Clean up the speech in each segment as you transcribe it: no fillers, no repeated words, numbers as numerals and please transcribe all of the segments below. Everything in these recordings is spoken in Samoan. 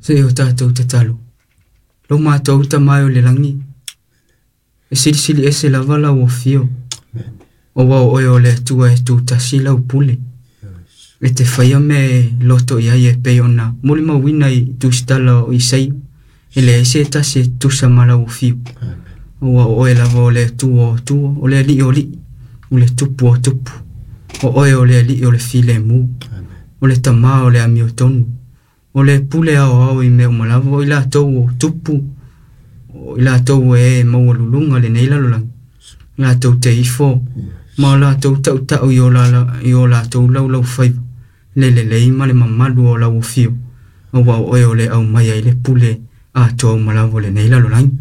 Se o tātou tatalo. Lo mātou tamai o le langi. E silisili ese lava lau afio. O wao oe o le Atua e tūtasi lau pule. E te whaia me loto i ai e pei ona molimauina i tusitala o Isaia. E leai se tasi e tusa ma lau afio. O wao oe lava o le Atua o Atua, o le Alii o Alii, o le Tupu o Tupu. O oe o le Alii o le filemu, o le Tamā o le amiotonu, o le pule ao ao i mea uma lava, o i latou o tupu, o i latou e maualuluga lenei lalolagi, latou te ifo, ma o latou tautau i o latou laulaufaiva, le lelei ma le mamalu o lau afio, aua o oe o le aumaia i le pule atoa uma lava o lenei lalolagi.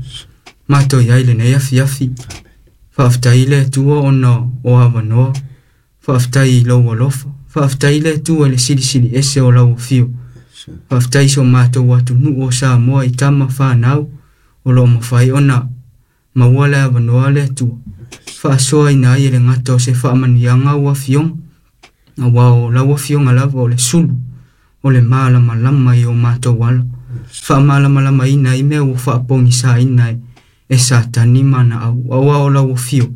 Matou i ai lenei afiafi, faafetai le Atua ona o avanoa, faafetai i lou alofa, faafetai le Atua i le silisili ese o lau afio, faafetai so mātou atunuu o Samoa i tama whanau o loo mawhai ona maua le avanoa le Atua. Faasoaina ai e le gata o se faamanuiaga ua afioga, aua o lau afioga lava o le sulu, o le malamalama i o mātou ala. Faamalamalamaina ai mea ua faapogisaina e Satani ma ana au, aua o lau afio.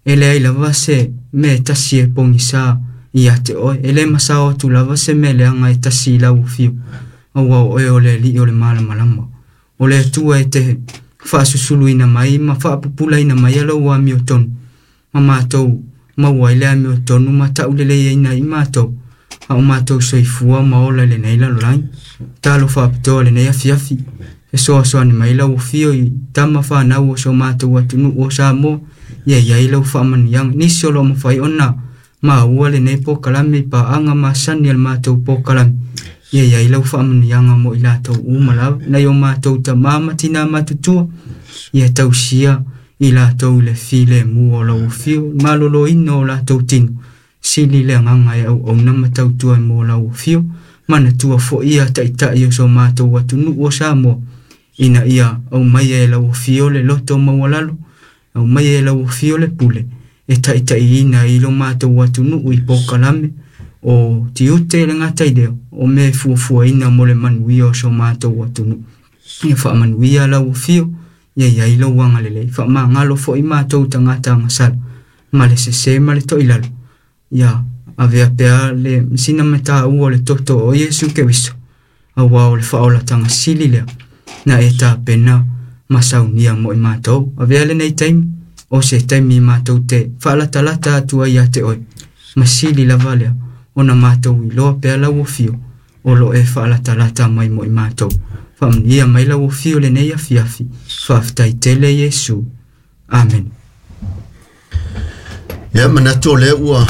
E leai lava se mea e tasi e pogisa ia te oe, e le masao atu lava se mea leaga e tasi i lau afio, aua o oe o le Alii o le malamalama. O le Atua e te faasusuluina mai ma faapupulaina mai lau amiotonu, ma mātou maua ai le amiotonu ma tauleleiaina i mātou, a o mātou soifua ma ola i lenei lalolagi. Talo faapitoa lenei afiafi, e soasoani mai lau afio i tama whanau o so mātou atunuu o Samoa, ia iai lau faamanuiaga. Nisi o loo mawhai ona maua lenei pokalame i paaga masani a le mātou pokalame, ia iai lau faamanuiaga mo i latou uma lava, nai o mātou tamā ma tinā matutua, ia tausia i latou i le filemu o lau afio, maloloina o latou tino, sili le agaga e auauna ma tautua mo lau afio, manatua foi ia taitai o so mātou atunuu o Samoa, ina ia aumaia e lau afio le loto maualalo, aumaia e lau afio le pule, e taitaiina i lo mātou atunuu i pokalame, o tiute le gata i lea, o mea e fuafuaina mo le manuia o so mātou atunuu. Ia faamanuia lau afio, ia iai lou agalelei, faamagalo foi mātou tagata agasala, ma le sese ma le toilalo. Ia avea pea le sina mataua o le toto o Iesu Keriso, aua o le faaolataga sili lea, na e tapena ma saunia mo i mātou. Avea lenei taimi, o se taimi mātou te faalatalata atu ai ia te oe, ma sili lava lea, ona mātou iloa pea lau afio, o loo e faalatalata mai mo i mātou. Faamanuia mai lau afio lenei afiafi, faafetai tele Iesu. Amen. Ia manatu o lea ua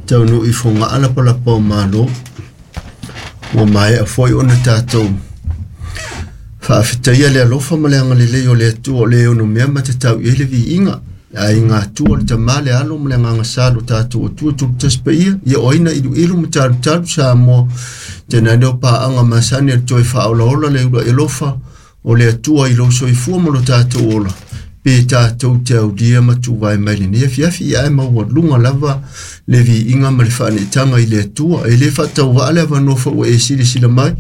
taunuu i fogaa lapalapa o malo, ua maea foi ona tatou faafetaia le alofa ma le agalelei o le Atua o le ono mea ma tatau i ai le viiga. Ai ngā tua le tamā le alo ma le agaga sa lo tatou Atua tulutasi paia, ia oaina iluilu ma talutalu Samoa. Tēnā leo paaga masani a le toe faaolaola le ula alofa o le Atua i lou soifua ma lo tatou ola, pe tatou te aulia ma tuvae mai lenei afiafi, ia ae maualuga lava le viiga ma le faaneetaga i le Atua. E le faatauvaa le avanoa foi ua e silasila mai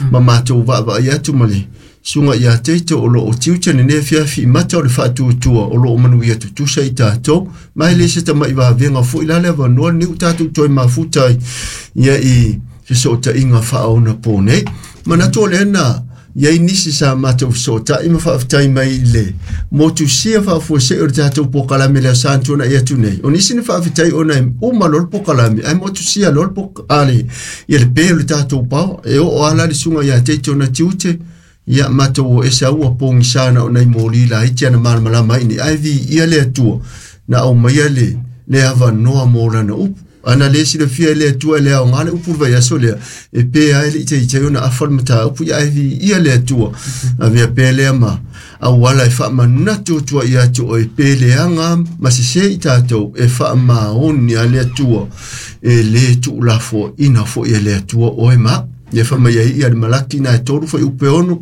ma matou vaavaai atu ma le suga ia teito o loo tiute lenei afiafi i mata o le faatuatua o loo manuia tutusa i tatou, ma e le se tama'i vavega foi la le avanoa lenei ua tatou toe mafuta ai ia i fesootaiga faaonapo nei. Manatu o lea na iai nisi sa matou fesoota'i ma faafetai mai i le motusia faafuasei o le tatou pokalame lea sa tuana'i atu nei. O nisi na faafetai ona e uma loa le pokalame ae motusia loa le ia le pe o le tatou paoa e oo ala le suga ia teito na tiute, ia matou o ese au ua pogisā na o nai moli laiti ana malamalama ai nei, ae viia le Atua na aumaia le avanoa mo lana upu. Ana le silafia e le Atua e le aoga le upu le vaiaso lea, e pe ai le itaitai ona afa le mataupu, ia ae viia le Atua. Avea pea lea ma auala e faamanatu atua ia te oe pe leaga ma sesē i tatou e faamaoni a le Atua, e lē tuulafoaina foi e le Atua oe ma. Ia whamai ai ia le malaki na e 3 whai upe 6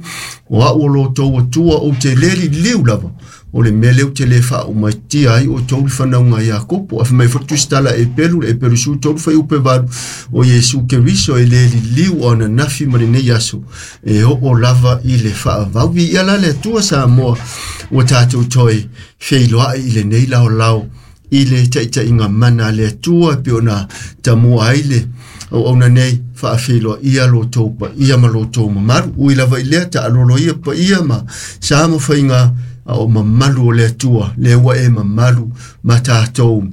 o au o lo tau atua o te leli liu lava o le mele o te le wha o mai tia ai o tau whanau ia kopo a whamai whatustala e pelu e pelu su 3 whai upe 8 o Iesu Keriso e leli liu o na nafi ma le nei aso e o o lava i le whaavau ia la le atua Samoa o tātou toi wheiloa i le nei lao lao i le taitai ngā mana le atua pe ona tamua ai le o ona nei whaawheloa ia lo tau pa ia ma lo tau mamaru ui lava i lea ta alolo ia pa ia ma sa ma whainga o mamalu o le atua le ua e mamalu ma tātou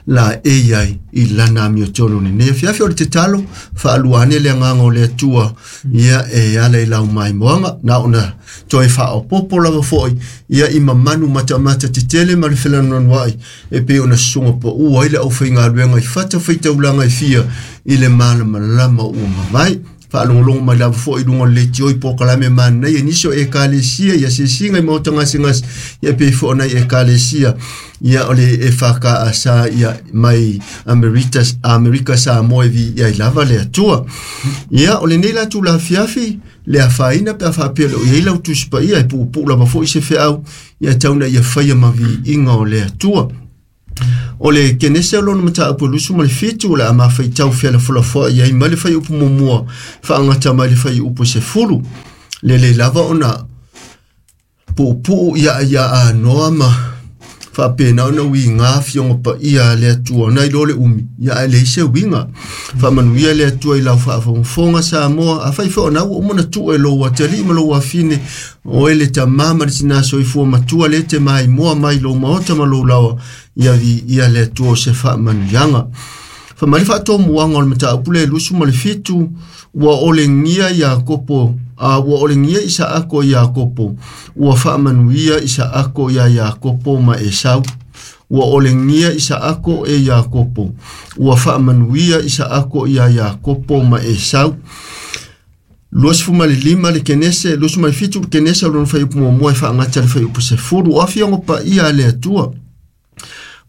la e iai i lana amio tonu ni nei fiafi o le te talo whaaluane le nganga o le atua ia e ala i lau mai moanga na ona toe whaopopo lava foi ia i mamanu matamata te tele ma le whelanonwai e pe ona sunga pa ua i le au whainga luenga i whata whaitaulanga i fia i le malama lama ua mawai whaalongolongo mai lava foi lunga le tioi po kalame mana ia niso e kalesia ia sesinga i maota ngasengas ia pe fo ona e kalesia ia ole e whaka asa ia mai Amerika Samoa vi ia i lava le atua ia ole nei la tu la fiafi le afaina pe afapele o ia lau tuspa ia e pupu lava foi se feau ia tauna ia whaia mavi inga o le atua. O le kenese o lona mata apu lusu ma le fitu o le ama whai tau whiala fula ia i male whai upu mumua whaangata mai le whai upu se fulu. Le le lava ona pupu ia ia a noa ma whapena ona ui ngā fionga pa ia le atua nai lo le umi ia a le ise winga. Whamanu ia le atua i lau whaafonga Samoa a whai wha ona ua umona tu e lo watali ma lo wafine o ele ta mama le tina soifua matua le te mai moa mai lo maota ma lo lawa ia vi ia le atua se whamanu yanga. Whamari whaatoa muanga o le mata apule lusu ma le fitu ua ole ngia ia kopo a ua ole ngia isa ako ia kopo ua whamanu ia isa ako ia ia kopo ma Esau ua ole ngia isa ako e ia kopo ua whamanu ia isa ako ia ia kopo ma Esau. Luas fuma le lima le kenese, luas fuma le fitu le kenese o lona whai upu mua e whaangata le whai upu se furu o awhiongo pa ia le atua.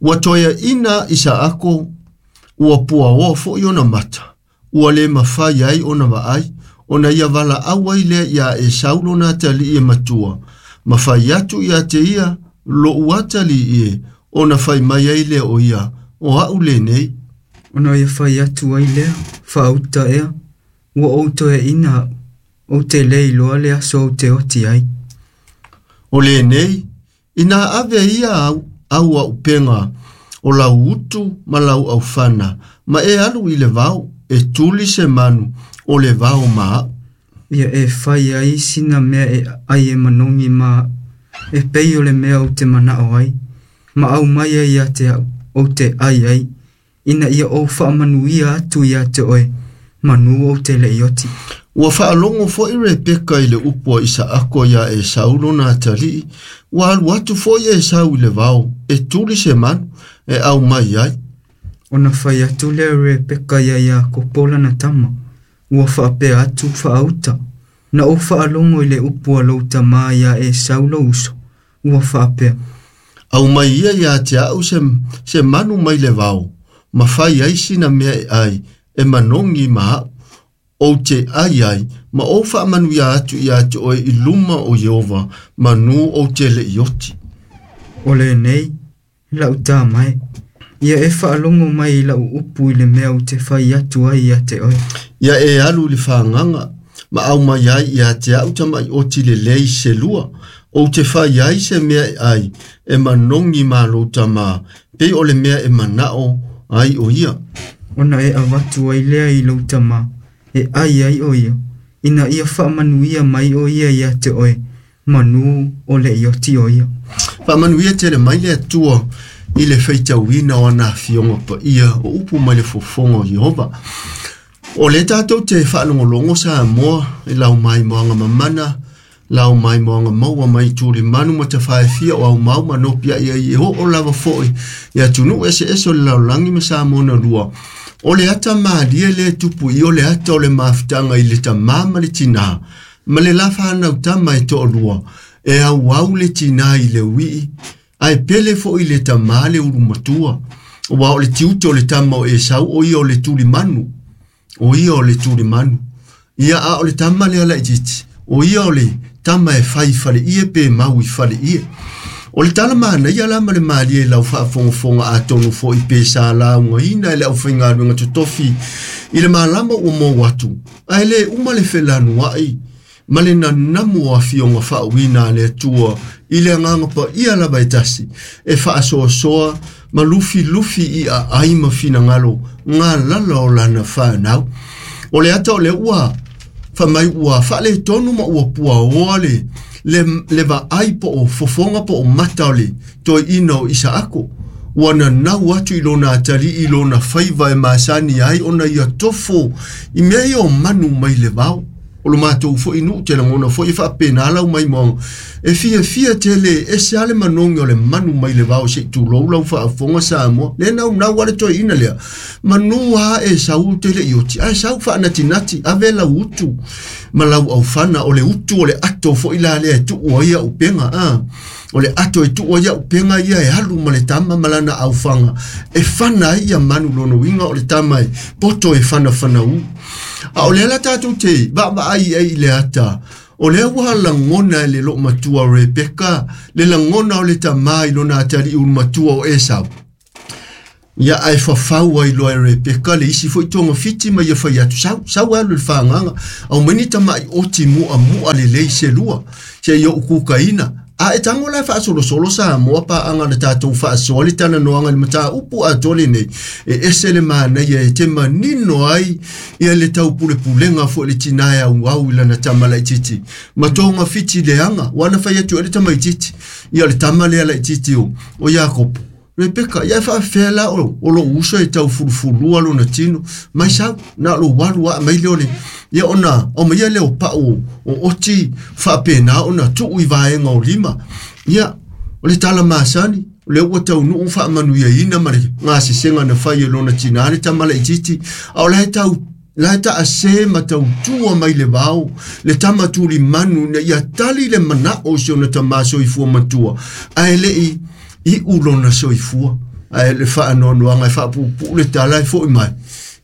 Ua toea ina isa ako ua pua oa fo i ona mata. Ua le mawhai ai ona waai, ona ia wala awai lea ia e saulona atali e matua. Mawhai atu ia te ia, lo uatali ie, ona whai mai ai lea o ia, o au le nei. Ona ia whai atu ai lea, whaauta ea, ua ou toe ina, o te lei loa le aso au te oti ai. O le nei, ina ave ia au, au au penga, o lau utu ma lau au whana, ma e alu i le vao, e tuli se manu, o le vao maa. Ia e whai ai sina mea e ai e manongi ma, e pei o le mea o te manao ai, ma au mai ai ia te au, o te ai ai, ina ia o whaamanu ia atu ia te oe, manu o te le ioti. Ua whaalongo fo i Rebeka i le upua i sa ako ia e Saulo na atalii, ua alu atu fo i e Sau i le vao, e tuli se manu, e au mai ai. Ona whai atu lea Rebeka ia ia kopola na tama, ua whaapea atu whaauta, na o whaalongo i le upua lau tama ia e Saulo uso, ua whaapea. Au mai ia ia te au se manu mai le vao, ma whai ai sina mea e ai, e manongi ma o te ai ai, ma o whaamanu ia atu ia atu oe i luma o Yehova, manu o te le ioti. O le nei, lau tā mai, ia e whaalongo mai lau upu i le mea o te whai atu ai ia te oe. Ia e alu le whaanganga, ma au mai ai ia te au tamai o ti le lei se lua, o te whai ai se mea e ai, e manongi ma lo tama, pe o le mea e manao ai o ia. Ona e awatu ai lea i lau tama, e ai ai o ia, ina ia whaamanu ia mai o ia ia te oe, manu o le ioti o ia. Whaamanu ia te le mai le atua i le whaitauina o ana fionga pa ia o upu mai le fofonga o Yehova. O le tātou te whaalongolongo Samoa e lau mai moanga mamana, lau mai moanga maua mai tūri manu ma te whaefia o au mau ma nopia ia i ho o lava foi ia tunu ese ese o le laulangi ma Samoa na lua. O le ata maalia le tupu i o le ata o le mafutanga i le tamā ma le tinā, ma le la whanau tama e to'olua, e au au le tinā i le wii, ai pele fo i le tamā le uru matua. O wa o le tiute o le tama o Esau o ia o le tuli manu. O ia o le tuli manu. Ia a o le tama lea laitiiti, o ia o le tama e fai i faleie pe mau i faleie. O le tala manaia la ma le malie i lau faafogafoga atonu foi pe sa laugaina e le aufaigaluega totofi i le malama ua mou atu, ae le uma le felanuai ma le nanamu o afioga faauuina a le Atua i le agaga paia lava e tasi, e faasoasoa ma lufilufi i aai ma finagalo galala o lana fanau. O le ata o le ua faamai ua faaletonu ma ua puaoa le vaai po o fofoga po o mata o le toeaina o Isaako. Ua nanau atu i lona atalii i lona faiva e masani ai ona ia tofo i mea ia o manu mai le vao. O lo matou foi nuu te lagona foi e faapena lau maimoaga. E fiafia tele ese lava le manogi o le manu mai le vao se i tulou lau faafofoga Samoa. Le naunau lava le toeaina lea. Manu lava e sau tele i oti, ae sau faanatinati, ave lau utu ma lau aufana. O le utu o le ato foi la lea e tuu ai au upega. O le ato e tuu ai au upega ia e alu ma le tama ma lana aufaga e fana ai ia manu lona uiga o le tama e poto e fanafanaū. A o lea la tatou te vaavaai ai i le ata, o lea ua lagona e le loomatua Rebeka le lagona o le tamā i lona atalii ulumatua o Esau. Ia ae fafau ai loa e Rebeka le isi foi togafiti ma ia fai atu, sau, sau alu i le fagaga, aumai ni tama'i oti mu'amu'a lelei se lua, seia ou kukaina. A e tago la e faasolosolo Samoa paaga na tatou faasoa le talanoaga i le mataupu atoa lenei, e ese le manaia e te manino ai ia le taupulepulega foi le tinā e auau i lana tama laitiiti ma togafiti leaga. Ua na fai atu ai le tamaitiiti, ia o le tama lea laitiiti o Iakopo. Rebeka, ia e faafefea la o lou uso e taufulufulua lona tino, mai sau, na o lou alu aa mai lea o le, ia ona aumaia lea o pau o oti faapena ona tuu i vaega o lima. Ia, o le tala masani, o lea ua taunuu faamanuiaina ma le gasesega na fai e lona tinā le tama laitiiti, a o la e tau la e taase ma tautua mai le vao le tama tulimanu ina ia tali le manao o si ona tamā soifua matua, ae le'i iu lona soifua. Ae le faanoanoaga e faapuupuu le tala e fo'i mai.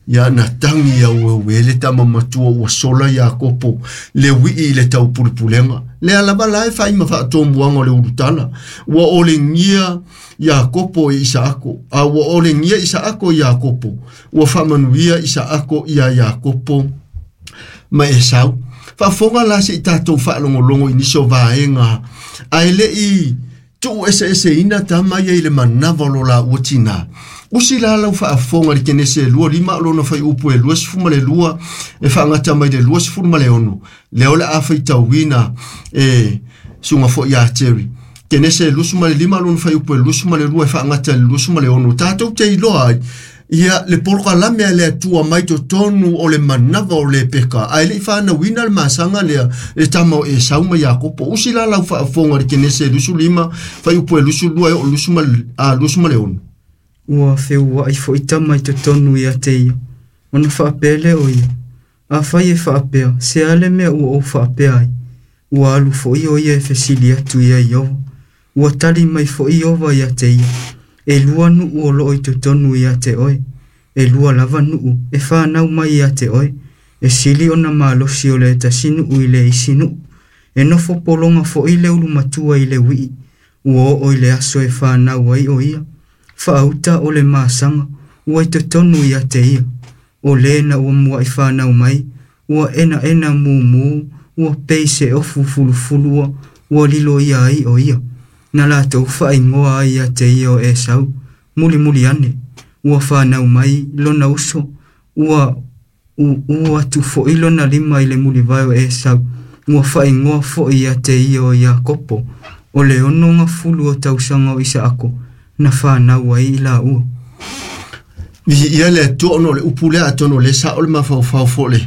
Ia na tagi aueue le tama matua ua sola Iakopo le uii i le taupulepulega. Lea lava la e fai ma faatomuaga o le ulutala. Ua olegia Iakopo e Isaako, a ua olegia Isaako i Iakopo, ua faamanuia Isaako ia Iakopo ma Esau. Faafofoga la se i tatou faalogologo i nisi o vaega, ae le'i tuu eseeseina tama ia i le manava o lo laua tinā. Usi la lau faafofoga i le Kenese 25 o lona fuaiupu e 22 e faagata mai le 26, lea o le a faitauina e suga foi ia Terry. Kenese 25 o lona fuaiupu e 22 e faagata i le 26, tatou te iloa ai ia le polokalame a le Atua mai totonu o le manava o Rebeka, ae le'i fanauina le masaga lea le tama o Esau ma Iakopo. Usi la lau faafofoga i le Kenese 25 fuaiupu e 22 e oo 26. Ua feua'i foi tama i totonu ia te ia, ona faapea lea o ia, afai e faapea, se a le mea ua ou faapea ai, ua alu foi o ia e fesili atu ia Iofa. Ua tali mai foi Iofa ia te ia, e lua nuu o loo i totonu ia te oe, e lua lava nuu e fanau mai ia te oe, e sili ona malosi o le tasi nuu i le isi nuu, e nofo pologa foi le ulumatua i le uii, ua oo i le aso e fanau ai o ia, faauta o le masaga ua i totonu ia te ia, o le na ua mua'i fanau mai, ua enaena mumu, ua pei se ofu fulufulua, ua lilo ia ai o ia. Na latou faaigoa ai ia te ia o Esau, mulimuli ane, ua fanau mai lona uso, ua uu atu foi lona lima i le mulivae o Esau, ua faaigoa foi ia te ia o Iakopo, o le 60 o tausaga o Isaako, na fanau ai i laua. Viia le Atua ona o le upu lea atonu o lea sao le mafaufau foi le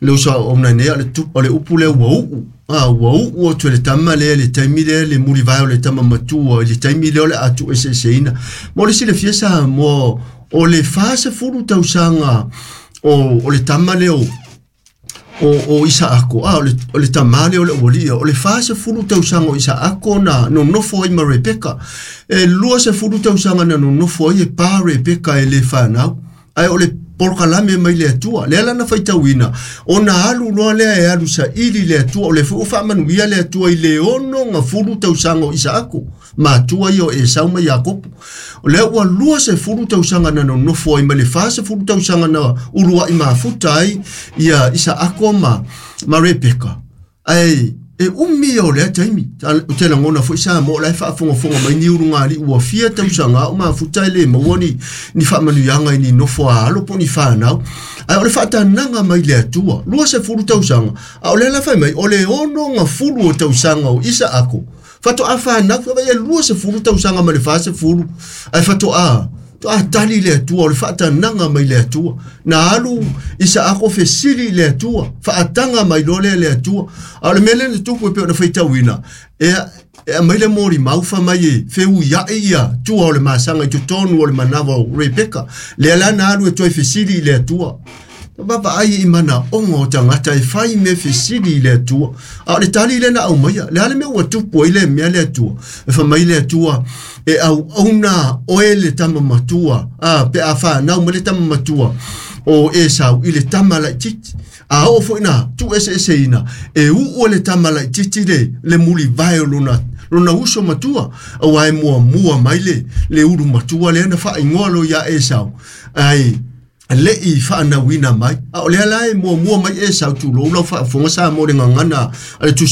le uso a ona nei o le upu lea ua uu. Ua uu atu e le tama lea le taimi lea le mulivae o le tama matua i le taimi lea o le a tuueseeseina. Mo le silafia Samoa o le 40 tausaga o le tama lea o Isaako, o le tamā lea o le auali'i, o le 40 tausaga o Isaako na nonofo ai ma Rebeka. E 20 tausaga na nonofo ai e pa Rebeka e le fanau. Ae o le polokalame mai le Atua lea lana faitauina ona alu loa lea e alu saili le Atua o le foi ua faamanuia le Atua i le 60 tausaga o Isaako matua ia o Esau ma Iakopo. O lea ua 20 tausaga na nonofo ai ma le 40 tausaga na uluai mafuta ai ia Isaako ma Rebeka. Ae e umi ia o lea taimi. O te lagona foi sa mo la e faafogafoga mai ni ulugali ua fia tausaga o mafuta e le maua ni faamanuiaga i ni nofo a alo po ni fanau. Ae o le faatanaga mai le Atua, 20 tausaga, a o lea la fai mai, o le 60 o tausaga o Isaako, faatoa fanau, e 20 tausaga ma le 40, ae faatoa tali le Atua, o le faatanaga mai le Atua. Na alu Isaako fesili le Atua, faataga mai loa lea le Atua. A o le mea lea na tupu e pei ona faitauina, e aumai le molimau fa mai e feuiai ia tua o le masaga i totonu o le manava o Rebeka. Lea la na alu e toe fesili i le Atua. Vaavaai i manaoga o tagata e fai mea fesili i le Atua. A o le tali lea na aumaia, le a le mea ua tupu ai le mea le Atua. E fai mai le Atua, e auauna oe le tama matua, pe a whanau ma le tama matua o Esau i le tama laititi. A oo foi na tu ese ese ina, e uu le tama laititi le mulivae o lona uso matua, aua e muamua mai le ulu matua lea na faaigoa lo ia Esau. Ai, le i whaanauina mai. A o lea la e muamua mai Esau tulou lau faafofoga sa mo le gagana a le Tusi.